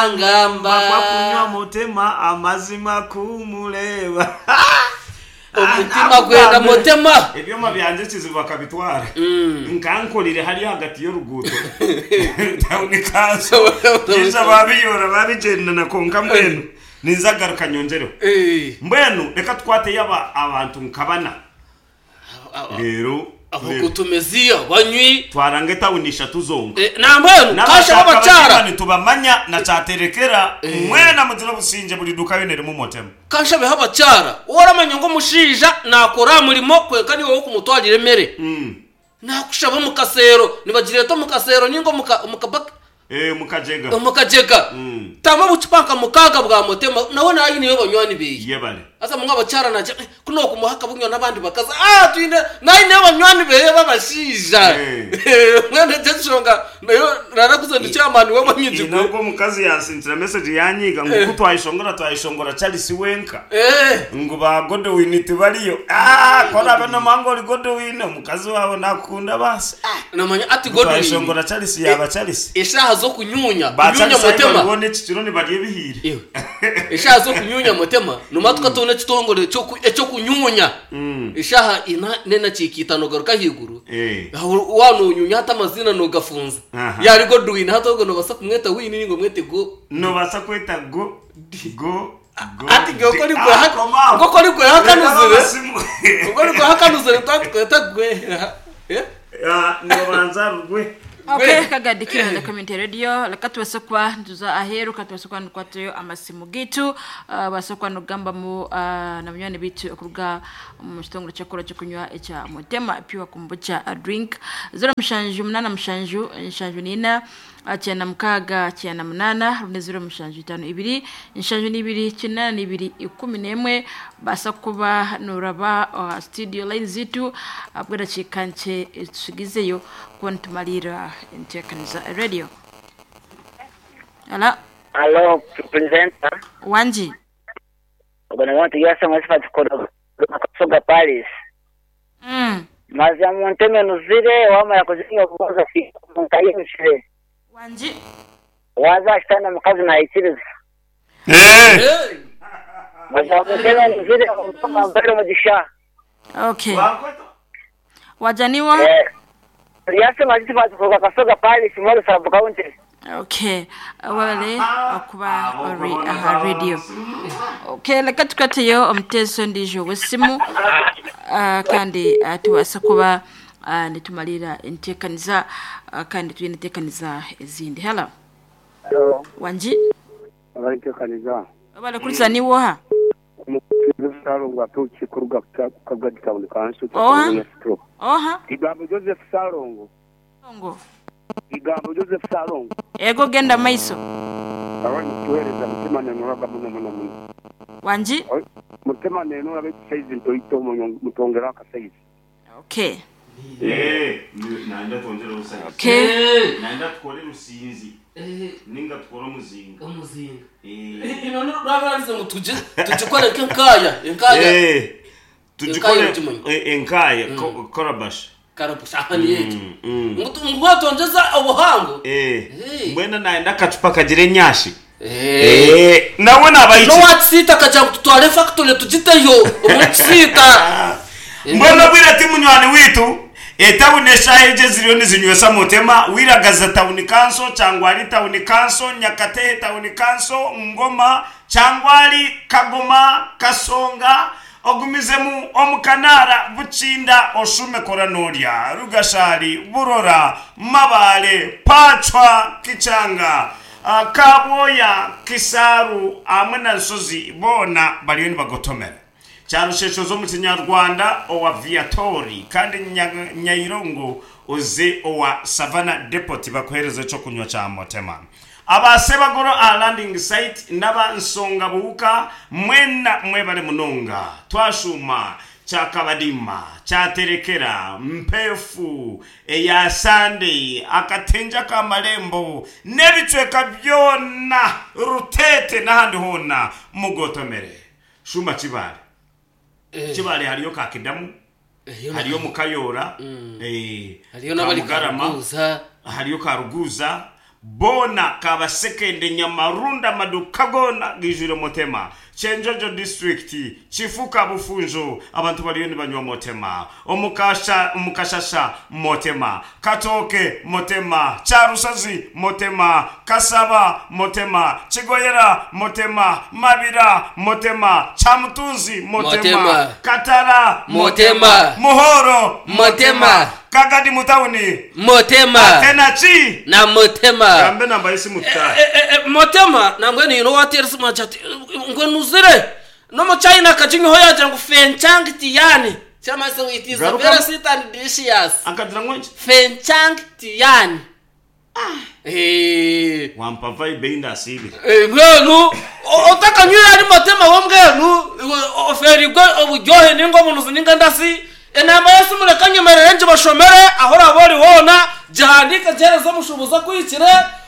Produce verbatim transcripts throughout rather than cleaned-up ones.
Yangamba. Bakwa kunywa mutema amazima kumureba. Omutima gwenda mutema. Ebyoma byanje kizibu bakabitwara. Nkankorire hari hagati y'oruguuto. Tawuni kanso. Ninza babiyora babigendana konka mbwenu. Ninza garuka nyongereho. Eh. Mbwenu reka tukwate yaba abantu nkabana. Rero Abakutumeziya banywi. Twaranga etawuni ishatu zonka. Eh, nambwenu kasha abakyara. Nitubamanya na kyaterekera mwena mugira obusinge buri duka yone erimu mutema. Kasha beho abakyara oramanya ngo omushaija nakora murimo kwenka niwe wokumutwarira emere. Mm. Nakushaba omu kasero nibagireta omu kasero ninga omu omu Eh mukajega. Omukajega. Mm. Tama bucupa nka mukaga bwa mutema nawe nayi niyo banywani beye. Yebale. Asa munga abakyara naje kuno kumuhaka bunywa n'abandi bakaza ah twine nayi niyo banywani beye babashija. Eh. Mwene teshonga nayo narakuze ndi chairman we manyinji. Nabwo omukazi yansindira message yanyiga ngo kutwayishongora twayishongora Charles wenka. Eh. Ngo ba Godwin tibariyo. Ah kora bano mango ori Godwin omukazi wawe nakunda basi. Namanya ati Godwin. Twayishongora Charles yaba Charles. Eshaha zo kunyunya, Ba kunyunya Charles mutema. Babone ekikiro nibarya ebihire. Ewe. Eshaha zo kunyunya mutema numatwa tone kitongore cyo cyo kunyunya. Eshaha ina nena chikitano garuka higuru. Eh. Wanunyunya hata amazina nogafunza. Aha. Yari Godwin hata ngo nobasa kumweta wini ningo mwete go. Nobasa kweta go go go. Ati goko ni Ah, gwe koma. goko ni gwe hakanuzire. Reka Goko ni gwe hakanuzire twatweta gwe. Eh? Ah, nibanza rugwe. Okay, kagadikira na community radio leka tubase kuba ntuza aheru katubase kuba nukwatayo amasimu gitu uh, base kuba nugamba mu uh, na munywani bitu okuruga mu kitongole kyakora kyokunywa ekya mutema pure kombucha drink zero mushanju munana mushanju nshanju nina kyenda mukaga kyenda munana rune zero mushanju itano ibiri nshanju n'ibiri kinana n'ibiri ikumi n'emwe basa kuba nuraba uh, studio line zitu abwira kikanche tusigizeyo kuba nitumalira enteekaniza radio. Ala Alo, presenter. Wanji. Ubona mwa tigasa mwesifa tukoro kusoga Paris. Mm. Mazi amunteme nuzire wamara kuzinga kubaza fi mukayimshire. Wanji. Waza shitana mukazi na ikiriza. Eh. Eh. Mazi amunteme nuzire mpaka mbere mugisha. Okay. Wajaniwa. Eh. Yase mazifa tukoro kasoga Paris muri sub county. Okay. Wabale okuba ori aha radio. Okay, leka tukateyo omuteeso ndijo wesimu uh, kandi uh, tubasa kuba uh, nitumalira enteekaniza uh, kandi twine enteekaniza ezindi. Hello. Hello. Wanji. Abaiteekaniza. Wabale kuriza niwoha. Joseph Salongo atuki kuruga Kagadi Town Council. Oha. Oha. Igambo Joseph Salongo. Salongo. Igambo Joseph Salongo. Ego genda maiso. Abandi tuhereza mutima nenuraga muno muno muno. Wanji. Mutima nenura betu saizi ntoito mutongera akasaizi. Okay. Eh, naenda twongere obusayizi. Okay. Naenda tukore rusinzi. Eh. Ninga tukore omuzinga. Omuzinga. Eh. Ino nurabarize ngo tuje tujikore nkaya, enkaya. Eh. Tujikore Enkaya enkaya korabash. Karabash ahani yetu. Mm. Ngo twongeza obuhango. Eh. Eh. Mbwena naenda akacupa kagira enyashi. Eh. Eh, nawe nabayiki. No watsita kaja tutware factory tugiteyo omutsita. Mbona bwira ati munywani witu etawuni eshaha eje ziriyo nizinywesa mutema wiragaza tawuni kanso cyangwa ari tawuni kanso Nyakatehe tawuni kanso Ngoma cyangwa ari Kagoma Kasonga ogumizemu omukanara Bukinda oshume koranorya Rugashari Burora Mabale Pachwa Kichanga uh, Kaboya Kisaru amwe na Nsozi bona bariyo nibagotomera Cyarushesho zo mu Kinyarwanda owa Viatori kandi Nya- Nyairongo uze owa Savannah Depot bakohereza cyo kunywa cya motema. Abasebagoro a landing site n'aba Nsonga buhuka mwena mwebale munonga twashuma cyakabadima cyaterekera mpefu eya Sunday akatenja kamalembo n'ebicweka byona Rutete n'ahandi hona mugotomere. Shuma Kibale. Kibale hariyo Kakidamu, hariyo Mukayora, eh Hariyo n'abari Kamugarama, Karuguza. hariyo Karuguza, Bona Kabasekende, Nyamarunda, amaduka gona gijwire Motema. Kyenjojo district, Kifuka, Bufunjo, abantu bariyo nibanywa Motema. Omukasha, Omukashasha Motema, Katoke Motema, Kyarusazi Motema, Kasaba Motema, Kigoyera Motema, Mabira Motema, Kyamutunzi Motema, Motema. Katara Motema. Muhoro Motema. Kagadi mutawuni Motema tenachi na Motema. Gambe namba yesimu tutahe. Eh, eh, eh, Motema nambwenu yino watera simu ati ngwenu uzire no mu China kakinyoho yagira ngu fenchang tiyani kyamase it is Garuka- very sweet and delicious. Akagira ngo iki? Fenchang tiyani. Eh. Wampa vibe indasibire. Eh, mbwenu otakanywire ari Motema wo mbwenu oferigwe oburyohe ninga obunuzi ninga ndasi. Enamba yesimu reka nyemerere ngibashomere aho oraba ori hoona, gihandike gihereze omushuubuzi akwikire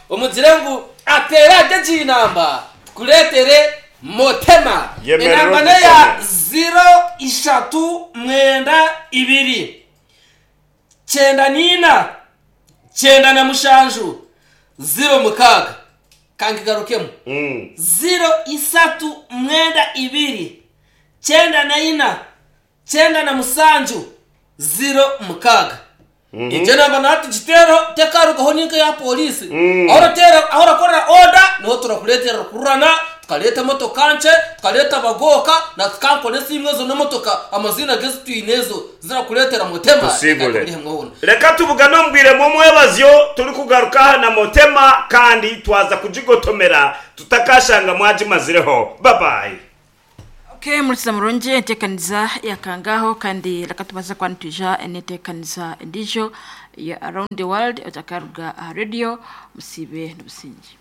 omugire ngu ateere agye egi namba tukureetere Motema. Yemerera Enamba neya ogisome. ziro ishatu mwenda ibiri kyenda niina kyenda na mushanju ziro mukaaga. Kangigarukemu. Mm. Ziro isatu mwenda ibiri kyenda na ina kyenda na musanju ziro mukaaga. Egyo namba natugiteereho tekarugaho ninka ya polisi. Mm. Aho orateera, aho orakorera oda niho turakureetera kururana, tukareeta emotoka nkye, tukareeta abagooka na tukankora esimu ezo n'emotoka amazina gezi twine ezo zirakureetera Motema. Tusibule. Eka hamwe hoona. Reka tubugane ombwiremu omwebazyo turi kugaruka aha na Motema kandi twaza kugigotomera tutakashanga mwagimazireho. Babayi. Okay, murikiza murungi enteekaniza yakangaho kandi reka tubaze kuba nitwija n'enteekaniza endiijo ya Around the World otakaruga aha radio musibe n'obusinge.